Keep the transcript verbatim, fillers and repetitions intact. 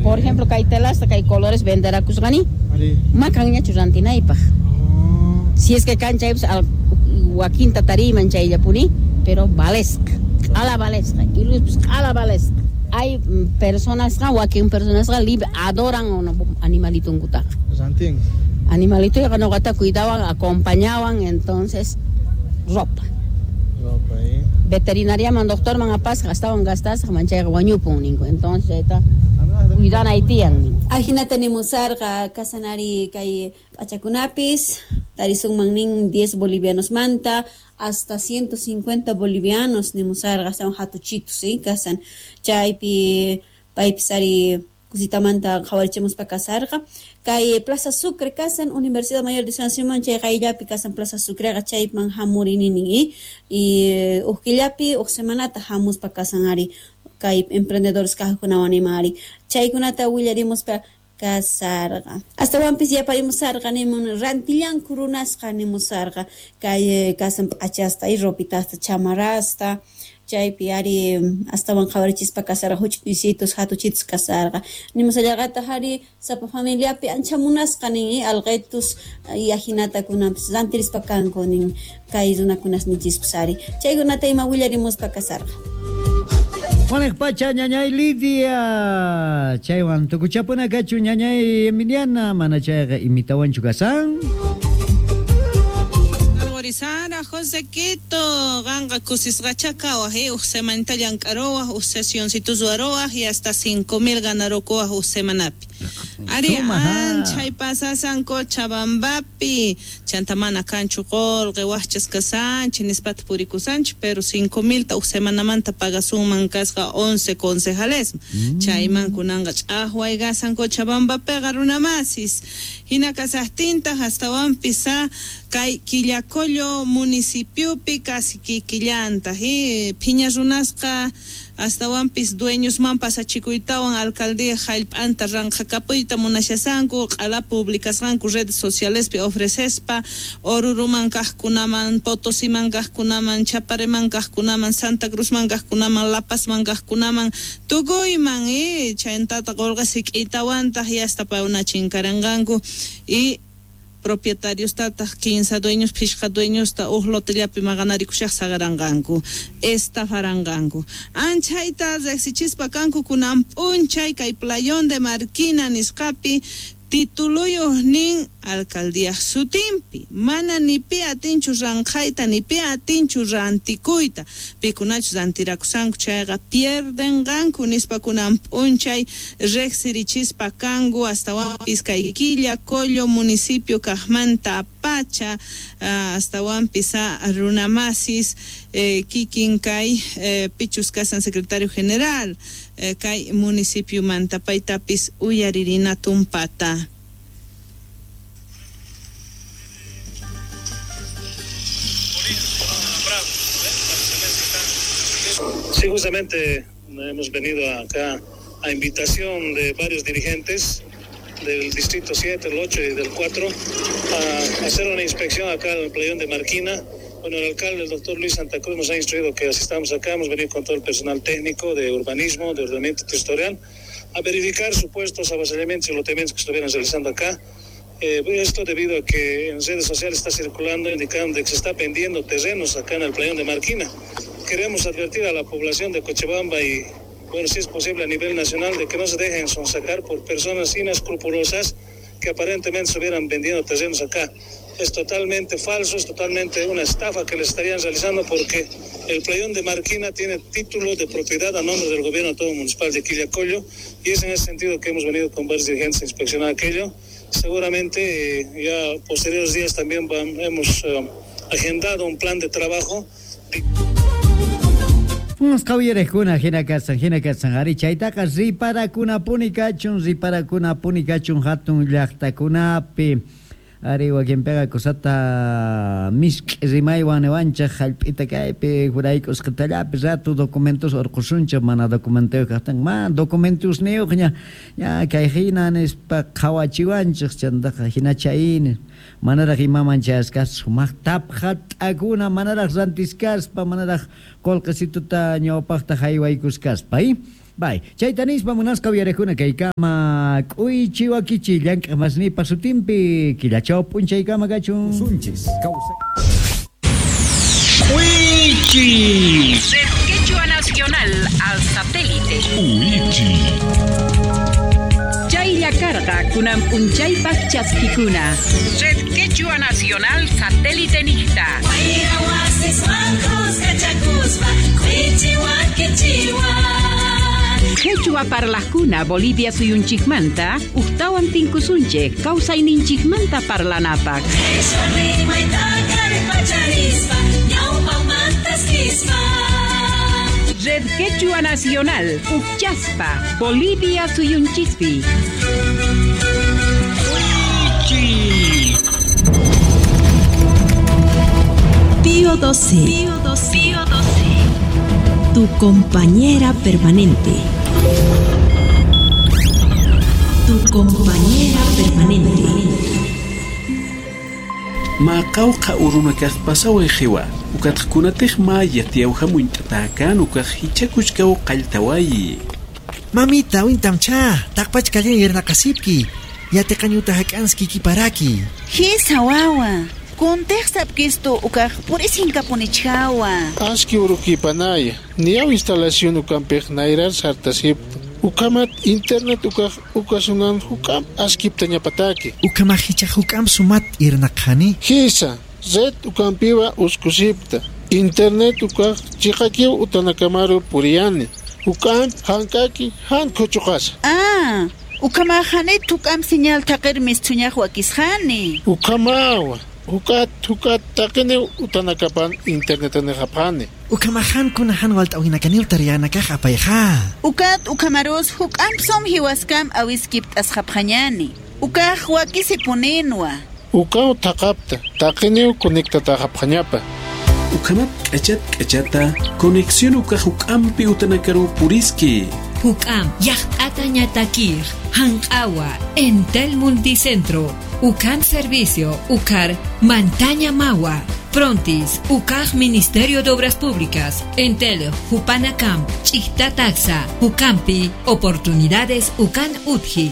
Por ejemplo, kay telasta, kay colores venderakusqani, makanñachu rantinaypaq. Si es que kan chaypis wakinta tariyman chayllapuni, pero valesqa, q'ala valesqa, iluspis q'ala valesqa. Hay personasqa, wakin personasqa libre adoran animalitunkutaqa. Rantin. Animalitoyqa nuqata cuidawan, acompañawan, entonces ropa. Ropa, eh. Veterinariaman, doctorman apasqa, astawan gastasqa, manchayqa wañupun ninku. Entonces chayta cuidanay tiyan. Ajinata nimusarqa kasanari kay p'achakunapis tarisunman nin diez bolivianos manta hasta ciento cincuenta bolivianos nimusarqa astawan hatuchitus ¿sí? Kasan chaypi paypis ari kusitamanta qhawarichimuspa kasarqa kay Plaza Sucre kasan Universidad Mayor de San Simón chay qayllapi kasan Plaza Sucreqa chayman hamurini nin y uj killapi uj semanata hamuspa kasan ari kay emprendedores kajkunawan ima ari chaykunata willarimuspa kasarqa astawanpis yaparimusarqa nimun rantillanku runasqa nimusarqa kay kasan p'achasta y ropitasta chamarrasta chaypi ari astawan qhawarichispa kasarqa huch'uysitus hatuchitus kasarqa nimusallarqataq ari sapa familiapi ancha munasqa nin alqetus y ajinata kunanpis rantirispa kanku nin kay runakunas nichispis ari chaykunata ima willarimuspa kasarqa. Juanek pacha ñañay Lidia chaywan tukuchapuna kachu ñañay Emiliana mana chayqa imitawanchu kasan. Sara José Quito ganga kusisqacha kawaj eh uj semanita llank'arowaj uj sesioncitus ruwarowaj y hasta cinco mil ganarokowaj uj semanapi ari anchay pasasan Cochabambapi chanta mana kanchu qolqe wajchas kasanchik nispata purikusanchik pero cinco milta uj semanamanta pagasunman kasqa once concejales mm. chayman kunanqa ch'aqway kasan Cochabambapiqa runamasis hina kasaqtintaq astawanpis kay Quillacollo municipiopi casi kikillantaq eh phiña runasqa astawanpis dueñosman pasachikuytawan alcaldía jallp'anta ranqhakapuyta munashasanku q'ala publicasqanku redes socialespi ofrecespa Oruruman kaqkunaman Potosiman kaqkunaman Chapareman kaqkunaman Santa Cruzman kaqkunaman La Pazman kaqkunaman tukuyman eh chayntata qolqa sik'itawantaq y hasta pauna chinkaranqanku y propietarios tataq quince dueños phishqa dueñosta uj lotellapi maqanarikushaq saqaranqanku estafaranqanku anchayta riqsichispa kanku kunan p'unchay kay Playón de Marquina nisqapi tituluyuq nin alcaldía sutinpi mana ni pi atinchu ranqhayta ni pi atinchu rantikuyta pikunachus rantirakusanku chayqa pierdenqanku nispa kunan p'unchay riqsirichispa kanku astawanpis kay Quillacollo municipio kaqmanta pacha astawanpis runamasis eh, kikin kay eh, pichus kasan secretario general eh, kay municipiomanta paytapis uyaririna tumpata. Sí, justamente hemos venido acá a invitación de varios dirigentes del Distrito siete, el ocho y del cuatro, a hacer una inspección acá en el Playón de Marquina. Bueno, el alcalde, el doctor Luis Santa Cruz, nos ha instruido que asistamos acá. Hemos venido con todo el personal técnico de urbanismo, de ordenamiento territorial, a verificar supuestos avasallamientos y loteamientos que estuvieran realizando acá. Eh, esto debido a que en redes sociales está circulando indicando que se está vendiendo terrenos acá en el Playón de Marquina. Queremos advertir a la población de Cochabamba y, bueno, si es posible a nivel nacional, de que no se dejen sonsacar por personas inescrupulosas que aparentemente estuvieran vendiendo terrenos acá. Es totalmente falso, es totalmente una estafa que le estarían realizando, porque el Playón de Marquina tiene título de propiedad a nombre del gobierno autónomo municipal de Quillacollo, y es en ese sentido que hemos venido con varios dirigentes a inspeccionar aquello. Seguramente eh, ya posteriores días también van, hemos eh, agendado un plan de trabajo. Qawyarekuna hina kasan hina kasan ari chaytaqa riparakunapuni kachun riparakunapuni kachun hatun llaqtakunapi ari wakinpiqa kusata misk'i rimaywan niwanchaq hallp'ita kaypi juraykusqatallapi rato documentos urqusunchaq mana documentuyuq kaqtin mana documentusniyuqña ña kay hina nispa qhawachiwanchaq chantaqa hina chayni manaraq imaman chayasqas sumaq tapqa t'akuna manaraq rantiskaspa manaraq qolqesituta ñawpaqta haywaykuskaspa. Bay, chayta nispa munasqa uyariqkuna kaykama k'uychi wakichi llank'aq masnipa sutinpi killachaw p'unchaykama kachun. Usunchis kawsay. K'uychi. Red Quechua Nacional al satélite. Uichi. Chaylla karqa kunan p'unchaypaq chaskikuna. Red Quechua Nacional satélite niqta. Quechua parlajkuna Bolivia suyunchikmanta uqtawan tinkusunchik kawsayninchikmanta parlanapaq. Red Quechua Nacional Uqchaspa Bolivia suyunchispi. Pío doce. Pío doce. Pío doce. Tu compañera permanente. Tu compañera permanente. Maqawqa urunakaq pasaway qiwa ukatqkunataq ma yatiyawhamunt'atakan ukaq hichakuchkaw qalltawayi. Mamita, wintamcha, taqpachkallan yernaqasipki, yatiqañuta hak'anski kiparaki. Hisa wawa, kuntiq sapkistu ukaq purisinkapunichkawa. Aski urukipanaya, niyaw instalación ukampiq nayrar sartasipta. Ukamat internet ukaq ukasunan hukam askipta ñapataki. Ukama hicha hukam sumat irnaqhani. Hisa, red ukampiwa uskusipta. Internet ukaq chiqakiw utanakamaru puriyani. Hukam hankaki han kuchuqasa. Ah, ukamahani tukam señal taqir mistuñaq wakisqani. Ukamawa. Hukat hukat taqini utanakapan internet nehapani. Ukamahan kunahan walt'awinakanil tariyanakaq apayqa. Ukat ukamarus huk'ampsum hiwaskam awiskip t'asqapqañani. Ukaq wakisipuninwa. Ukaw taqapta taqiniw conectataqapqañapa. Ukamat k'achat k'achata conexión ukaq huk'ampi utanakaru puriski. Huk'am yaqt'ata ñatakir hanq'awa Entel Multicentro Ucam Servicio Ucar Mantaña Mawa Frontis Ucaj Ministerio de Obras Públicas Entel Jupanacam Chictataxa Ucampi Oportunidades Ucan Utji.